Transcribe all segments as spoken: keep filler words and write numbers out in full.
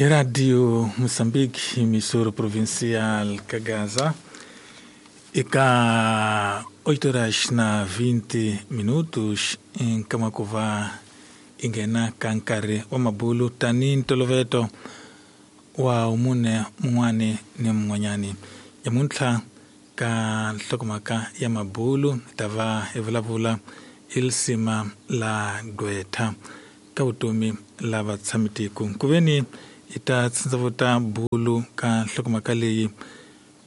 Hi Radio Moçambique, emissora provincial Kagaza. Eka oito horas na vinte minutos em Kamakova ingena kankare wa mabulu tani ntoloveto wa umune mungwane ni mungwanyani yamuntlha ka nhlokomhaka ya mabulu tava hi vulavula ilisima la gqwetha ka vutomi la vatshamitiko kuveni hi ta tsindzavuta bulu ka nhlokomhaka leyi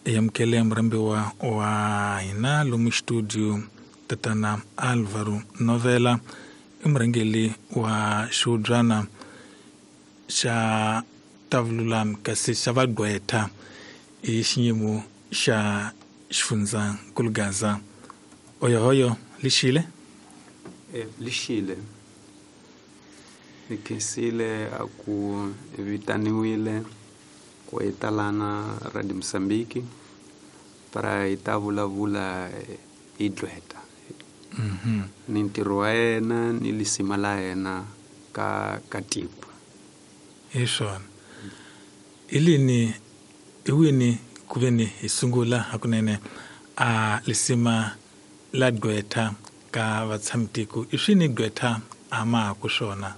yamukele murhambiwa wa hina lomu studio tatana Alvaro Novela i murhangeri wa xihubyana xa tavululami kasi xa vagqwetha hi xiyimo xa xifundzankulu Gaza. Oyohoyo lixile e lixile ni khensile a ku vitaniwile ku hi talana Radio Moçambique para hi ta vulavula hi gqwetha mhm ni ntirho wa yena ni lisima la yena ka ka tiko. Hi swona ilini iwini kuveni hi sungula hakunene a lisima la gqwetha ka vatshamitiko i swini gqwetha a ma ku swona?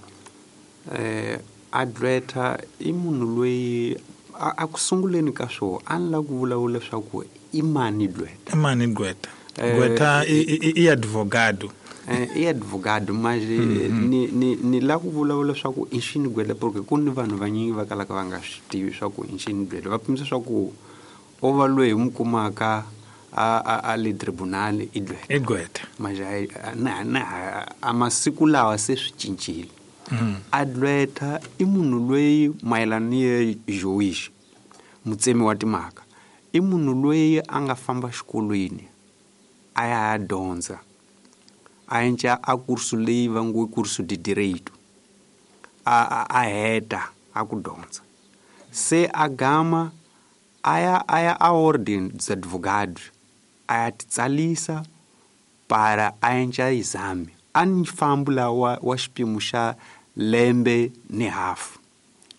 Eh a gqwetha i munhu loyi a ku sunguleni ka swo a ni lava ku vulavula leswaku i mani gqwetha. I mani gqwetha? Gqwetha i i advogado. Eh i advogado manje ni ni ni lava ku vulavula leswaku i xini gqwetha porque ku ni vanhu vanyingi va kalaka va nga swi tivi swa ku i xini gqwetha, va pimisa swa ku o va loyi hi n'wi kumaka a a a le tribunal i gqwetha. I gqwetha manje na na a masiku lawa se swi cincile. A gqwetha i munhu loyi mayelana ni ye juiz mutsemi wa timhaka i munhu loyi a nga famba xikolweni a ya dyondza a endla a kursu leyi va ngo curso de direito a a heta a ku dyondza se a gama a ya a ya a ordem dos advogados a ya titsalisa para a endla exame a ni fambo la wa, wa xipimo xa lembe ni hafu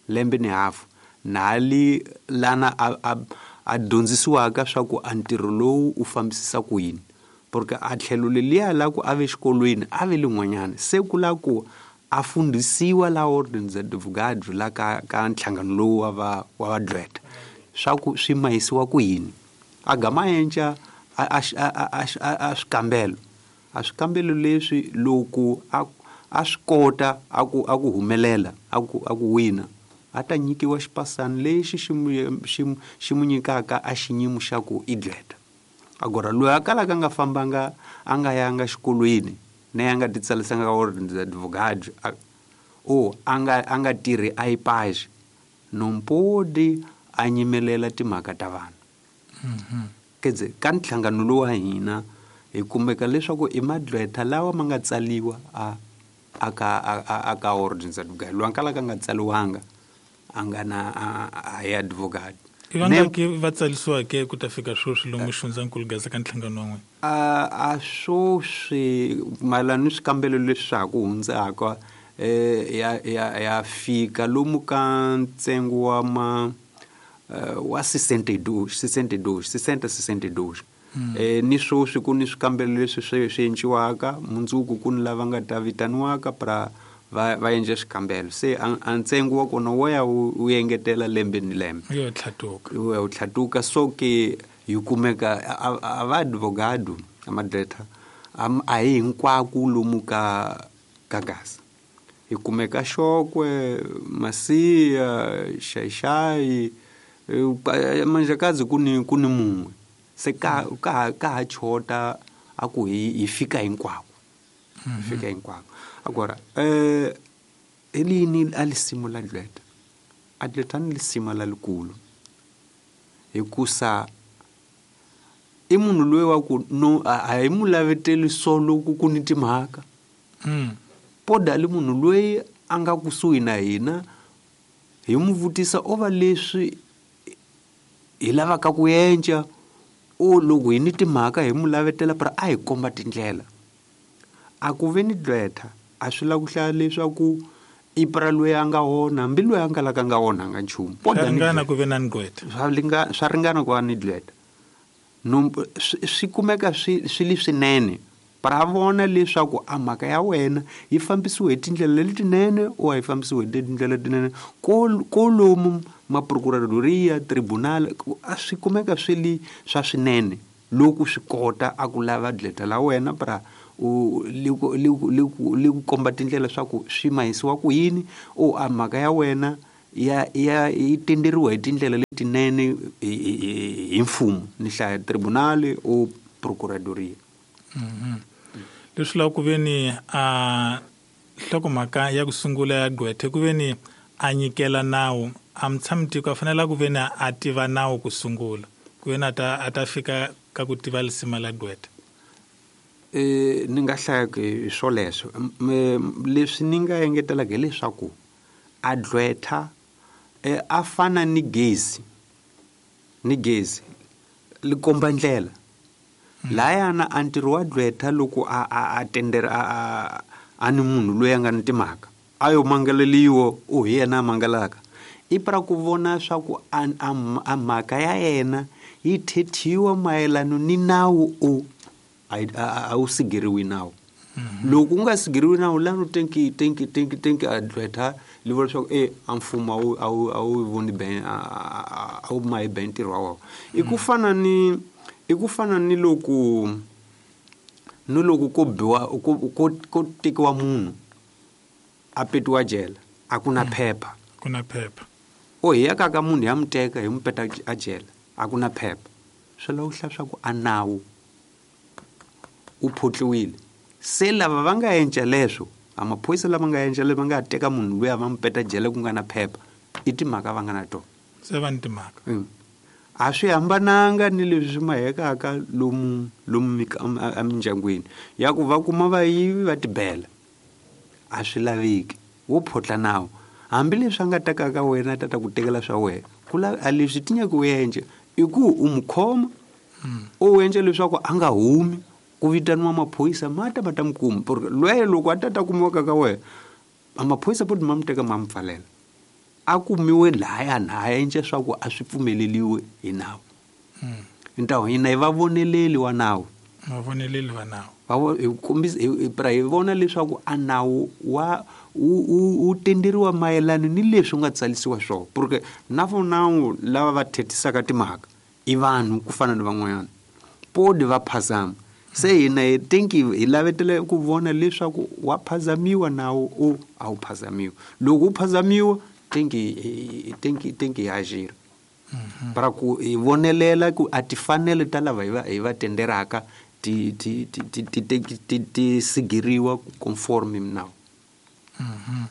lembe ni hafu nali lana a, a, a dyondzisiwaka swa ku a ntirho lowu u fambisisa ku yini porque a tlhelo leliya la ku a ve xikolweni a ve lin'wanyana se ku la ku a fundhisiwa la ordem dos advogados la ka ka nhlangano lowu wa va wa vagqwetha swa ku swi mahisiwa ku yini a gama endla a a a a swikambelo a swikambelo leswi loko a a swi kota a ku a ku humelela a ku a ku wina a ta nyikiwa xipasani lexi xi mu xi xi mu nyikaka a xinyimo xa ku i gqwetha. Agora loyi a kalaka a nga fambanga a nga yanga xikolweni na ya nga titsalisanga ka ordem dos advogados o a nga a nga tirhi a IPAJ no pode a nyimelela timhaka ta vanhu. Quer dizer, ka nhlangano lowu wa hina hi kumeka leswaku i magqwetha lawa ma nga tsaliwa a a ka a ka ordem dos advogados loyi a kalaka a nga tsaliwanga a nga na a hi advogado. I vangaki va tsarisiweke ku ta fika sweswi lomu xifundzankulu Gaza ka nhlangano wa n'wina? A a sweswi mayelana ni swikambelo leswi swa ha ku hundzaka eh ya ya ya fika lomu ka ntsengo wa ma wa sessenta e dois sessenta e dois sessenta sessenta e dois eh ni sweswi ku ni swikambelo leswi swi swi endliwaka mundzuku ku ni lava nga ta vitaniwaka para va va endla xikambelo se a ntsengo wa kona wo ya wu engetela lembe ni lembe yo tlhatuka yo ya tlhatuka so ke hi kumeka a va advogado a magqwetha a hi hinkwako lomu ka ka Gaza hi kumeka Xokwe Masiya Xaixai Manjakazi ku ni ku ni mun'we se ka ka ka ha chota a ku hi hi fika hinkwako hi fika hinkwako. Agora eh elini a lisimo la gqwetha a gqwetha ni lisima lalikulu hikusa i munhu loyi wa ku no a hi mu laveteli solo ku ku ni timhaka mm. Poda li munhu loyi a nga kusuhi na hina hi mu vutisa o va leswi hi lavaka ku endla o loko hi ni timhaka hi mu lavetela para a hi komba tindlela. A ku ve ni gqwetha a swi lava ku hlaya leswaku I pra loyi a nga onha hambi loyi a nga la ka nga onhanga nchumu. Swa ringana ku ve na gqwetha. Swa linga swa ringana ku va ni gqwetha. No swi kumeka swi swi li swinene. Para vona leswaku a mhaka ya wena yi fambisiwe hi tindlela letinene o a yi fambisiwe hi tindlela letinene kolomu maprocuradoria tribunal a swi kumeka swi li swa swinene loko swi kota a ku lava gqwetha la wena pra u li ku li ku li ku li ku komba tindlela swa ku swi mahisiwa ku yini o a mhaka ya wena ya ya yi tenderiwa hi tindlela letinene hi mfumo ni hlaya tribunal o procuradoria. Mhm. Leswi lava ku ve ni a nhlokomhaka ya ku sungula ya gqwetha ku ve ni a nyikela nawu a mutshami-tiko a fanele ku ve ni a tiva nawu ku sungula ku ve ni a ta a ta fika ka ku tiva lisima la gqwetha. Eh ni nga hlaya hi swoleswo leswi ni nga engetelaka hileswaku a gqwetha a fana ni gezi ni gezi li komba ndlela. Layana a ntirho wa gqwetha loko a a a tendera a a ni munhu loyi a nga ni timhaka a yo mangaleliwa o hi yena a mangalaka i pra ku vona swa ku a a mhaka ya yena yi thethiwa mayelana ni nawu o a wu sigeriwi nawu. Loko u nga sigeriwi nawu lano tenki tenki tenki tenki a gqwetha li vula leswaku e a mfumo a wu a wu a wu voni ben a wu mahi ben ntirho wa wona. I ku fana ni i ku fana ni loko ni loko ko biwa ko ko ko tekiwa munhu a petiwa jele a ku na phepha ku na phepha o hi ya ka ka munhu ya mu teka hi mu peta a jele a ku na phepha swi lava ku hlaya swa ku a nawu u photliwile se lava va nga endla leswo a maphorisa lava nga endla leswo va nga teka munhu luya va mu peta jele ku nga na phepha i timhaka va nga na tona se va ni timhaka. A swi hambananga ni leswi swi mahekaka lomu lomu emindyangwini ya ku va kuma vayivi va tibela a swi laveki wo photla nawu hambileswi a nga tekaka wena a ta ta ku tekela swa wena ku a leswi ti nyaka u endla i ku u mu khoma u endla leswaku a nga humi ku vitaniwa maphorisa ma ta va ta mu kuma porque loyi loko a ta ta kumiwa ka wena a maphorisa po ma mu teka ma mu pfalela a kumiwe laya na a endla swa ku a swi pfumeleliwe hi nawu. Ntawo hina hi va voneleli wa nawu va voneleli wa nawu va hi kombisa hi pra hi vona leswaku a nawu wa u u tenderiwa mayelana ni leswi nga tsalisiwa swona porque na vonawu lava va thethisaka timhaka i vanhu ku fana ni van'wanyana podi va phazama se hina hi tenki hi lavetela ku vona leswaku wa phazamiwa nawu o a wu phazamiwa loko wu phazamiwa tenki tenki tenki ya jira para ku hi vonelela ku a tifanele ta lava hi va hi va tenderaka ti ti ti ti ti ti ti sigiriwa conform nawu. Mhm.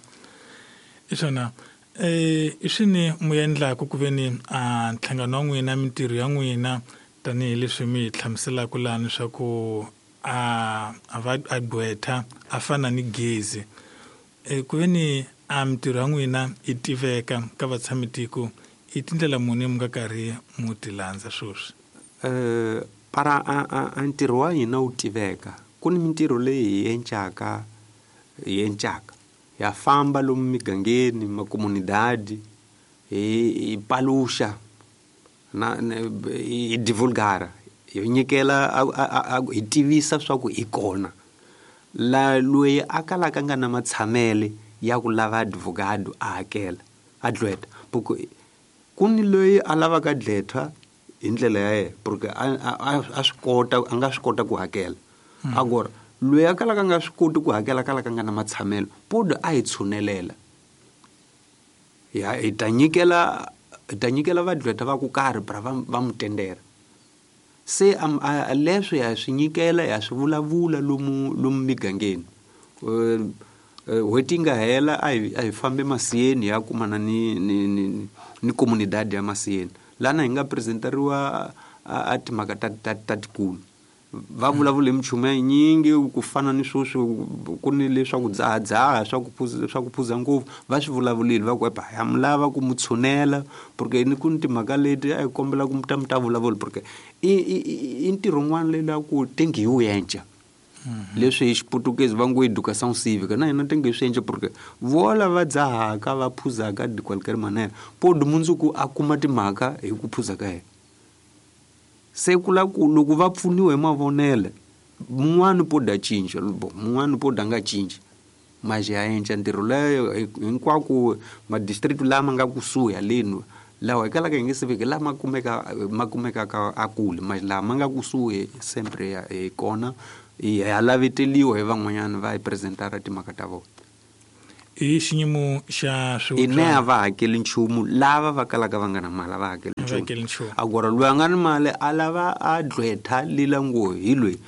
Isona eh i swini mu endlaka ku ve ni a nhlangano wa n'wina mintirho ya n'wina tanihileswi mi hi hlamuselaka lani swa ku a a va a gqwetha a fana ni gezi e ku ve ni a mintirho ya n'wina yi tiveka ka vatshami-tiko i tindlela muni mi nga karhi mu ti landza sweswi? Eh para a a ntirho wa hina wu tiveka ku ni mintirho leyi hi encaka hi encaka ya famba lomu migangeni makomunidadi hi hi paluxa na hi divulgara hi nyikela hi tivisa swa ku hi kona la loyi a kalaka nga na matshamele ya ku lava advocate a hakela a gqwetha porque ku ni loyi a lavaka gqwetha hi ndlela ya yena porque a a swi kota a nga swi kota ku hakela agora loyi a kalaka nga swi koti ku hakela kalaka nga na matshamelo podo a hi tshunelela ya hi ta nyikela hi ta nyikela vagqwetha va ku karhi bra va va mu tendera se a leswi ya swi nyikela ya swi vulavula lomu lomu migangeni n'hweti yi nga hela a hi a hi fambe masiyeni ya kumana ni ni ni ni comunidade ya masiyeni lana hi nga presenteriwa a timhaka ta ta ta tikulu va vulavula hi minchumu ya yinyingi ku fana ni sweswi ku ni leswaku dzahadzaha swa ku phuza swa ku phuza ngopfu va swi vulavurile va ku epa ya mi lava ku mu tshunela porque ni ku ni timhaka leti a hi kombela ku mi ta mi ta vulavula porque i i i ntirho wun'wana leyi la ku tengi hi wu enca Leswi hi Xiputukezi va ngo educação cívica na hina tenge swi endla porque vola va dzahaka va phuzaka de qualquer maneira podi mundzuku a kuma timhaka hi ku phuza ka yena. Se ku la ku loko va pfuniwa hi mavonelo mun'wani podi a cinca mun'wani podi a nga cinci mas ya endla ntirho leyo hinkwako madistrict lama nga kusuhi haleni lawa hi kalaka hi nge se fiki lama kumeka ma kumekaka a kule mas lama nga kusuhi sempre hi kona hi ya laveteliwa hi van'wanyana va hi presentara timhaka ta vona. I xiyimo xa swi ine a va hakeli nchumu lava va kalaka va nga na mali a va hakeli nchumu. Agora loyi a nga ni mali a lava a gqwetha lila ngo hi loyi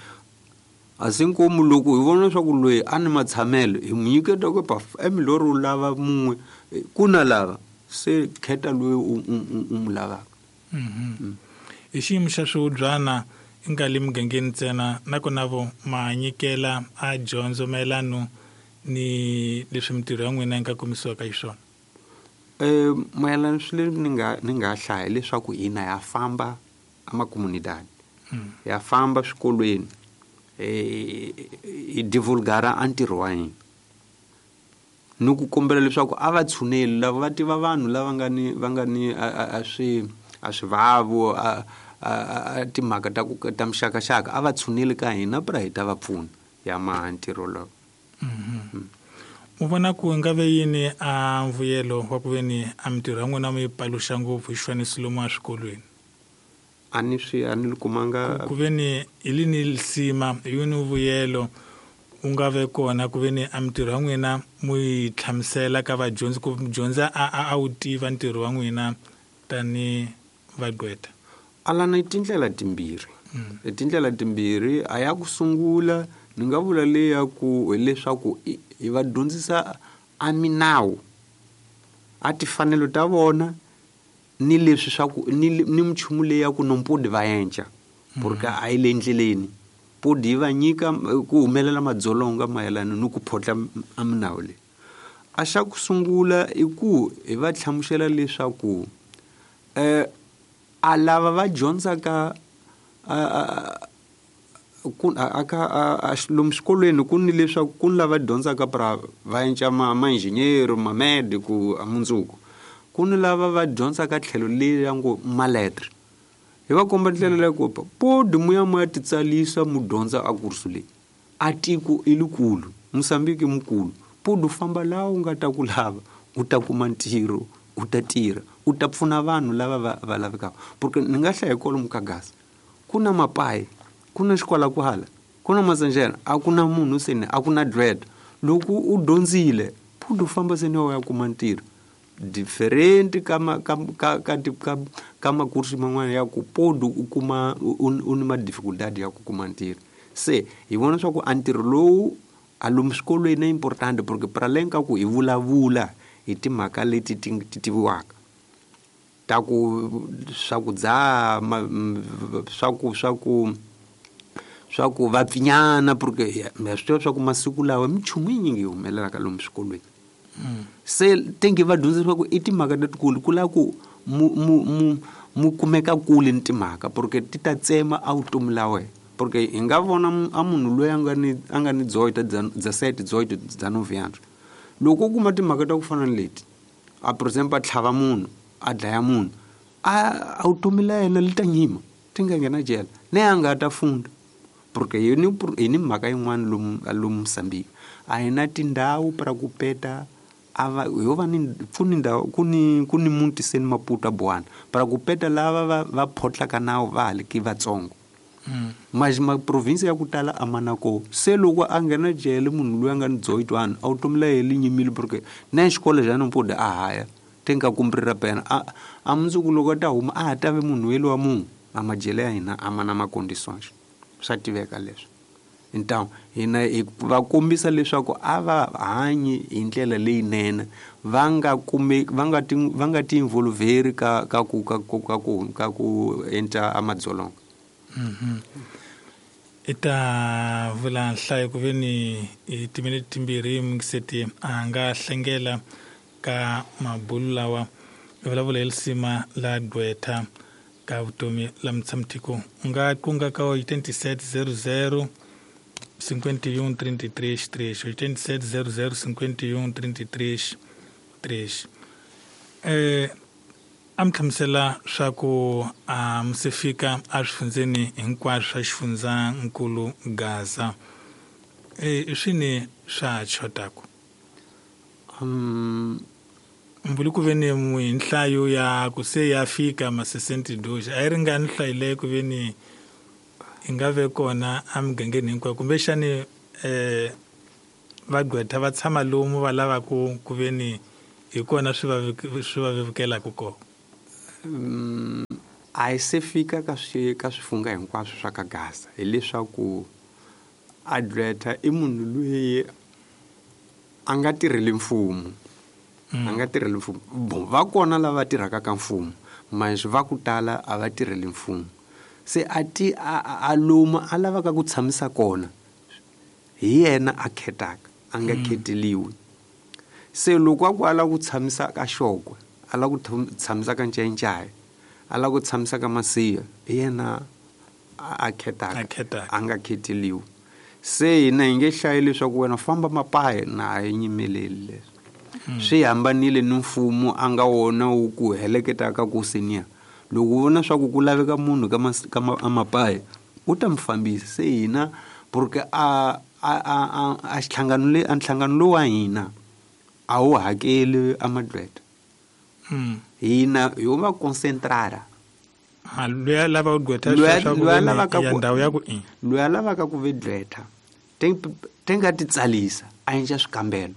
a si nkomu loko hi vona leswaku loyi a ni matshamelo hi n'wi nyiketa ku pa emilori u lava mun'we ku na lava se kheta loyi u u n'wi lavaka. Hi xiyimo xa swihubyana i nga le mugangeni ntsena nakona vo ma nyikela a dyondzo mayelano ni leswi mintirho ya n'wina yi nga komisiwaka hi swona. Eh mayelana swi leswi ni nga ni nga hlaya leswaku hina ya famba amakomunidade ya famba swikolweni eh hi divulgara a ntirho wa hina ni ku kombela leswaku a va tshuneli lava va tiva vanhu lava nga ni va nga ni a swi a swivavo a a timhaka ta ku ta mixakaxaka a va tshuneli ka hina pra hi ta va pfuna ya maha ntirho lowu. U vona ku nga ve yini a mbuyelo wa ku ve ni a mintirho ya n'wina mi yi paluxa ngopfu hi xifaniso lomu eswikolweni? A ni swi a ni li kumanga ku ve ni hi lini lisima hi yini vuyelo u nga ve kona ku ve ni a mintirho ya n'wina mu yi hlamusela ka vadyondzi ku mudyondzi a a wu tiva ntirho wa n'wina tani vagqwetha? Alana i tindlela timbirhi. I tindlela timbirhi a ya ku sungula ni nga vula leya ku hileswaku hi va dyondzisa a minawu a timfanelo ta vona ni leswi swa ku ni ni minchumu leyi ya ku nompodi va endla porque a yi le endleleni podi yi va nyika ku humelela madzolonga mayelana ni ku photla a minawu leyi. A xa ku sungula i ku hi va hlamusela leswaku eh a lava va dyondzaka ku aka lomu swikolweni ku ni leswaku ku ni lava dyondzaka pra va endla ma ma-engineer ma-medico a mundzuku ku ni lava va dyondzaka tlhelo leri ya ngo maletre hi va komba ndlela leyi ku podi mu ya mu ya titsalisa mu dyondza a kursu leyi a tiko i likulu Mozambique mukulu podi u famba laha u nga ta ku lava u ta kuma ntirho u ta tirha u ta pfuna vanhu lava va va lavekaka porque ni nga hlaya kwalomu ka gasi ku na mapayi ku na xikwalakwala ku na matsanjena a ku na munhu seni a ku na dread loko u dyondzile podi u famba seni u ya kuma ntirho different ka ka ka ka ka ka makursi man'wana ya ku podi u kuma u ni ma-difficultad ya ku kuma ntirho. Se hi vona swa ku a ntirho lowu a lomu swikolweni i important porque para além ka ku hi vulavula hi timhaka leti ti ti tiviwaka ta ku swa ku dzaha swa ku swa ku swa ku va pfinyana porque ha swi tiva swa ku masiku lawa minchumu yinyingi yi humelelaka lomu swikolweni. Se tenge va dyondzisiwa ku i timhaka letikulu ku lava ku mu mu mu mu kumeka kule ni timhaka porque ti ta tsema a vutomi la wena porque hi nga vona a munhu loyi a nga ni a nga ni dezoito dezessete dezoito dezenove anos loko u kuma timhaka ta ku fana ni leti a por exemplo a tlhava munhu a dlaya munhu a a vutomi la yena li ta nyima ti nga nghena jele ne a nga ta funda porque hi ni hi ni mhaka yin'wana lomu lomu Mozambique a hi na tindhawu para ku peta a va ho va ni ku ni ndhawu ku ni ku ni muti seni Maputo a Boana para ku peta lava va va photlaka nawu va ha li ki vatsongo mas ma province ya ku tala a ma na ko se loko a nghena jele munhu loyi a nga ni dezoito anos a vutomi la yena li nyimile porque na xikolo xa nompodi a haya te nga kumbrira pena a a mundzuku loko a ta huma a ha ta ve munhu yelo wa munhu a majele ya hina a ma na ma-condições swa tiveka leswi. Então hina hi va kombisa leswaku a va hanyi hi ndlela leyinene va nga kume va nga ti va nga ti involveri ka ka ku ka ku ka ku ka ku endla a madzolonga. I ta vula nhlayo ku ve ni hi timinete timbirhi mungiseti a nga hlengela ka mabulu lawa i vulavula hi lisima la gqwetha ka vutomi la mutshami-tiko u nga kunga ka eighty-seven zero zero cinquenta e um trinta e três três. oitenta e sete zero zero cinquenta e um trinta e três três. Eh, a mi hlamusela swa ku a mi se fika eswifundzeni hinkwaswo swa xifundzankulu Gaza. Eh, i swini swa chotaku? Um, Mbuli ku ve ni hi nhlayo ya ku se ya fika ma sessenta e dois. A yi ringani nhlayo leyi ku ve ni yi nga ve kona emugangeni hinkwayo, kumbexani eh vagqwetha va tshama lomu va lavaku ku ve ni hi kona swi va swi va vevukelaka kona? Um, a yi se fika ka swi ka swifunga hinkwaswo swa ka Gaza, hileswaku a gqwetha i munhu loyi a nga tirheli mfumo. A nga tirheli mfumo. Bon, va kona lava tirhaka ka mfumo, mas va ku tala a va tirheli mfumo. Se a ti a, a lomu a lavaka ku tshamisa kona hi yena a khetaka, a nga kheteliwi. Se loko a ku a lava ku tshamisa ka Xokwe, a lava ku tshamisa ka Ncayincaya, a lava ku tshamisa ka Masiya, hi yena a khetaka, a nga kheteliwi. Se hina hi nge hlayi leswaku wena famba Mapaya, na a yi nyimeleli leswi. Swi hambanile ni mfumo a nga wona wu ku heleketaka ku senior. Loko u vona swa ku ku laveka munhu ka ka Mapaya, u ta mi fambisa. Se hina porque a a a a xihlangano le a nhlangano lowu wa hina a wu hakeli a magqwetha. Hina ho va concentrara. Ha loyi a lava ku gqwetha Loyi a lavaka ya ku ndhawu ya ku i. Loyi a lavaka ku ve gqwetha te nga ti tsalisa a endla swikambelo.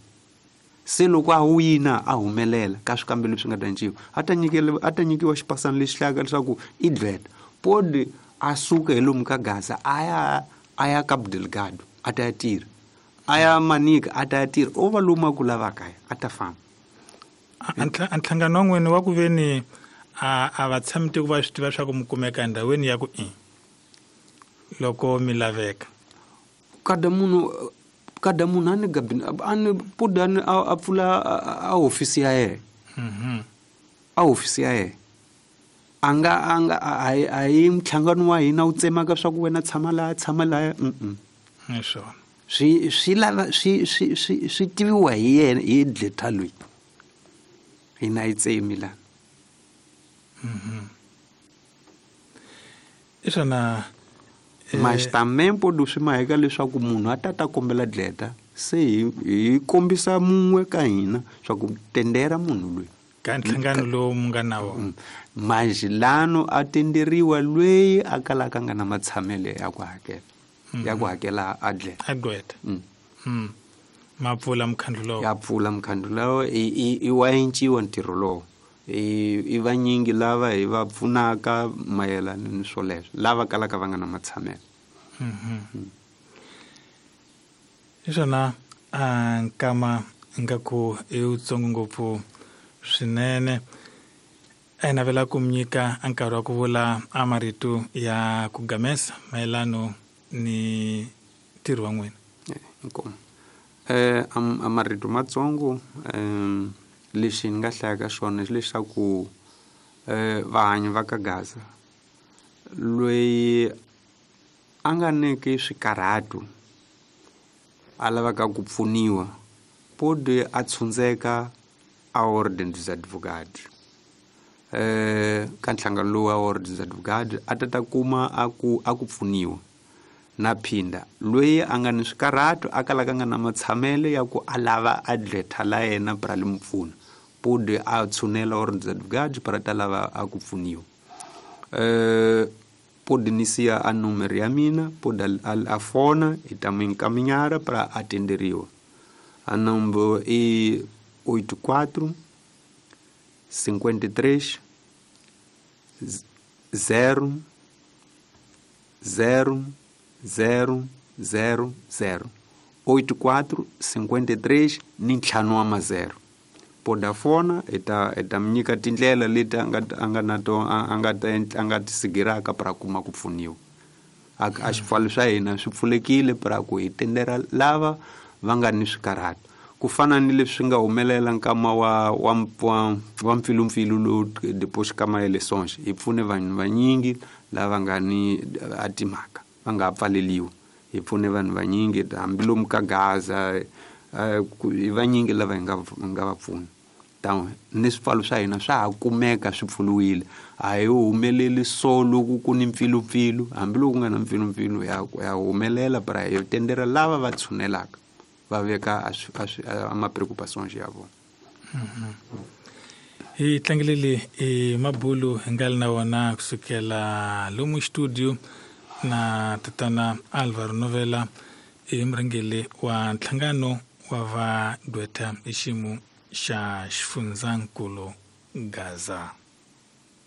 Se loko a wina a humelela ka swikambelo leswi nga ta enciwa, a ta nyikela a ta nyikiwa xipasana lexi hlayaka leswaku i gqwetha. Podi a suka hi lomu ka Gaza a ya a ya Cabo Delgado a ta ya tirha, a ya Manica a ta ya tirha, o va lomu a ku lavaka ya a ta famba. A nhlangano wa n'wina wa ku ve ni a a va tshami tiko va swi tiva swa ku mi kumeka endhawini ya ku i loko mi laveka. Kada munhu kada munhu a ni gabini a ni pudi a ni a pfula a hofisi ya yena. A hofisi ya yena. A nga a nga a a hi nhlangano wa hina wu tsemaka swa ku wena tshama laha tshama laha. Mm. Hi swona. Swi swi lava swi swi swi swi tiviwa hi yena hi gqwetha loyi. Hina hi tsemi la. Mhm. I swona. Mas também pode swi maheka leswaku munhu a ta ta kombela gqwetha, se hi hi kombisa mun'we ka hina swa ku tendera munhu loyi ka nhlangano lowu mu nga na wona. Mas lano a tenderiwa loyi a kalaka nga na matshamelo ya ku hakela, ya ku hakela a gqwetha. A gqwetha. Mm. Ma pfula mukhandlu lowo. Ya pfula mukhandlu lowo, i i i wa enciwa ntirho lowo. I i vanyingi lava hi va pfunaka mayelana ni swoleswo, lava kalaka va nga na matshamelo. Mhm. Hi swona a nkama ingaku i wutsongo ngopfu swinene. A hi navela ku mi nyika a nkarhi wa ku vula a marito ya ku gamesa mayelano ni ntirho wa n'wina. Inkomu. Eh a marito matsongo eh lexi ni nga hlayaka xona hi leswaku eh vahanyi va ka Gaza loyi a nga niki swikarhato a lavaka ku pfuniwa podi a tshundzeka a Ordem dos Advogados. Eh ka nhlangano lowu wa Ordem dos Advogados a ta ta kuma a ku a ku pfuniwa. Na phinda loyi a nga ni swikarhato a kalaka nga na matshamelo ya ku a lava a gqwetha la yena pra li mu pfuna, podi a tshunela Ordem dos Advogados pra ta lava a ku pfuniwa. Eh podi ni siya a numero ya mina, podi a, a fona hi ta n'wi nkaminhara pra atenderiwa. A number i oito quatro cinquenta e três zero zero zero zero zero oito quatro cinquenta e três ni ntlhanu wa mazero. Poda fona hi ta hi ta mi nyika tindlela leti a nga a nga na to a nga ta a nga ti sigiraka pra kuma ku pfuniwa. A a xipfalo swa hina swi pfulekile pra ku hi tendera lava va nga ni swikarhato. Ku fana ni leswi nga humelela nkama wa wa wa wa mpfilumpfilu lowu depois ka ma-elections, hi pfune vanhu vanyingi lava nga ni a timhaka va nga pfaleliwi. Hi pfune vanhu vanyingi hambilomu ka Gaza, hi vanyingi lava hi nga nga va pfuna. Ta ni swipfalo swa hina swa ha kumeka swi pfuriwile, a hi humeleli so loko ku ni mpfilumpfilu, hambiloko ku nga na mpfilumpfilu ya ya humelela, bara hi tendera lava va tshunelaka va veka a ma preocupations ya vona. Hi tlangelele i mabulu hi nga ri na wona kusukela lomu studio na tatana Alvaro Novela, i murhangeri wa nhlangano wa va gqwetha hi xiyimo xa xifundzankulu Gaza.